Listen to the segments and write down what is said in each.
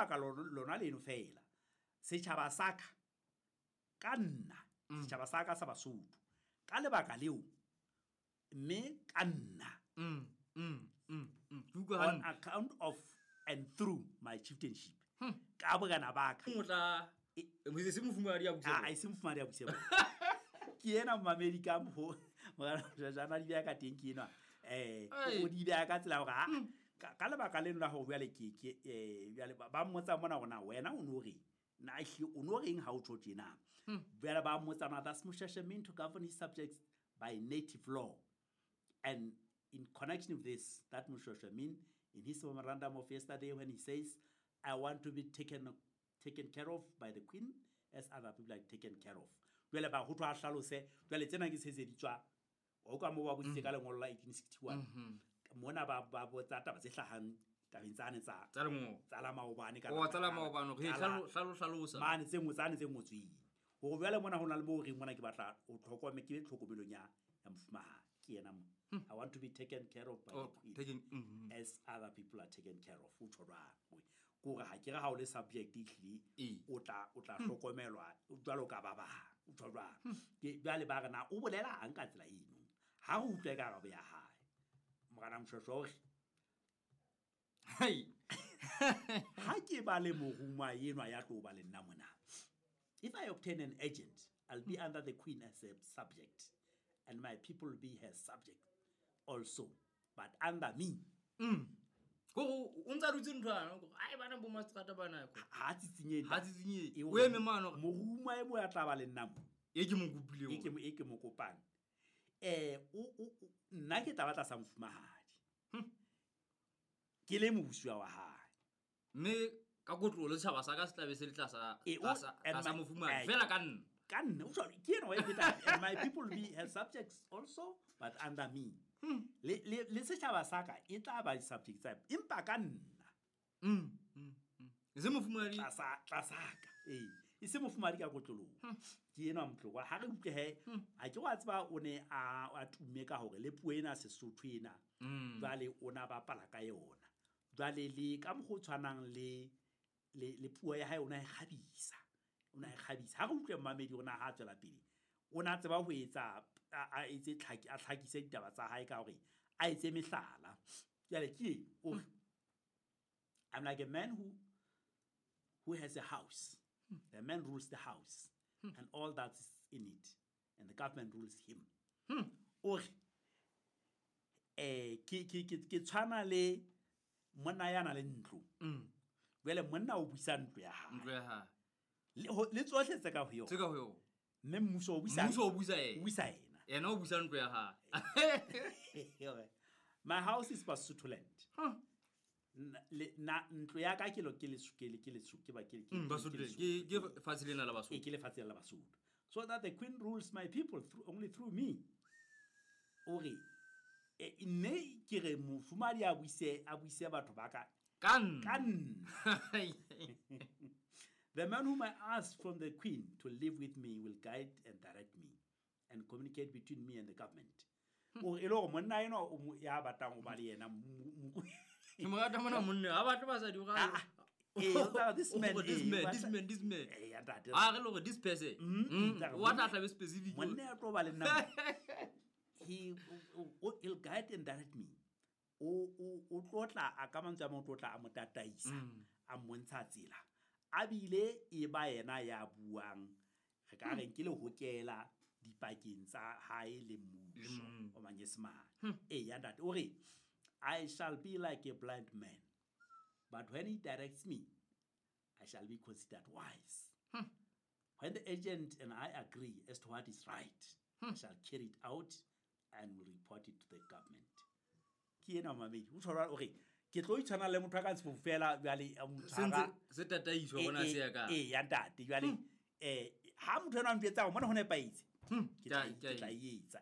lebaka lona leno fela setjhaba sa ka ka nna setjhaba sa ka sa Basotho ka lebaka leo mme ka nna on account of and through my chieftainship ka borena ba ka se mofumahadi ya a e se mofumahadi ya buse ke ena momamedi ka mo jana di beha ka teng ke enwa o di beha ka tsela hore ka lebaka leno la hore jwale ke jwale ba mmotsa mona hore na wena o no reng na ehlile o no reng ha o tjho tjena. Jwale ba mmotsa na does Moshoeshoe mean to govern his subjects by native law, and in connection with this that Moshoeshoe mean in his memorandum of yesterday when he says I want to be taken care of by the queen as other people are taken care of. Jwale ba ho thwa hlalose jwale tsena ke se di tswa o ka mo ba botsitse ka lengolo la 1861 mona ba botsa taba tse hlahang tabeng tsane tsa tsa la maobane ka tsa la maobane re hlalosa mane tse ngotsane tse ngotsweng hore jwale mona ho na le mo reng mona ke batla o tlhokome ke tlhokomelong ya mofumahadi ke yena mo I want to be taken care of by the queen as other people are taken care of. O tjho jwang kore ha ke re ha o le subject ehlile o tla hlokomelwa jwalo ka ba bang o tjho jwang ke jwale ba re na o bolela ang ka tsela eno ha o utlwe ka karabo ya hae morena Moshoeshoe o re ha ke ba le moruma enwa ya tlo ba le nna mona if I obtain an agent I'll be under the queen as a subject and my people will be her subject also but under me. Go o ntsa dutse nthwana ai bana bo mastrata bana ko ha tsitsinye o eme mano moruma e mo ya tla ba le nna mo e ke mo kopile e ke mo kopang o nna ke tla batla sa mofumahadi ke le mobusi wa hae mme ka kotlo le tshaba sa ka se tlabe se le tlasa tlasa mofumahadi fela ka nna ke ena wa e feta and my people be her subjects also but under me. Le setjhaba sa ka e tla ba di-subject tsa empa ka nna e se mofumahadi tlasa ka e se mofumahadi ka kotlolong ke ena motlokwa ha re utlwe he ha ke wa tseba o ne a tume ka hore le puo ena Sesotho ena jwale o na bapala ka yona jwale le ka mokgwa o tshwanang le puo ya hae o na e kgabisa ha re utlwe mmamedi o na ha tswela pele o na tseba ho etsa a etse a tlhakise ditaba tsa hae ka hore a etse mehlala jwale ke o I'm like a man who has a house. The man rules the house and all that is in it and the government rules him. O re ke tshwana le monna ya na le ntlo jwale monna o buisa ntlo ya hae le tsohle tse ka ho yona mme mmuso o buisa yena yena o buisa ntlo ya hae. My house is Basutoland. Na ntlo ya ka ke lo ke le ke ba ke ke fatshe lena la Basotho ke le fatshe la Basotho so that the queen rules my people only through me. O re nne ke re mofumahadi a buise batho ba ka ka nna. The man whom I ask from the queen to live with me will guide and direct me and communicate between me and the government. O e le hore monna eno o ya batlang o ba le yena ke mo rata mona monna ha batle basadi o ga this man this man a re le hore this person wa tla be specific monna ya tlo ba le nna he'll guide and direct me o tlotla a ka mantswe a mo tlotla a mo tataisa a mmontsha tsela a bile e ba yena ya buang re ka reng ke le hokela dipakeng tsa hae le mmuso o manyesemane ya ntate o re I shall be like a blind man but when he directs me I shall be considered wise. When the agent and I agree as to what is right, I shall carry it out and will report it to the government. Ke ena mamedi o tshwara o re ke tlo itshwana le motho a ka ntse fela jwale a motshwara se tataiswa bona se ya ka ya ntate jwale ha motho ena a mpetsa mona ho nepaitse ke tla etsa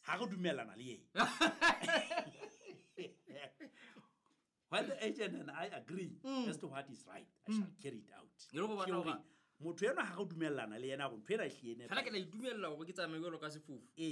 ha re dumellana le yena. When the agent and I agree as to what is right, I shall carry it out. Motho ena ha re dumellana le yena go ntho ena e hlene fela ke la itumella hore ke tsamaye jwalo ka sefofu.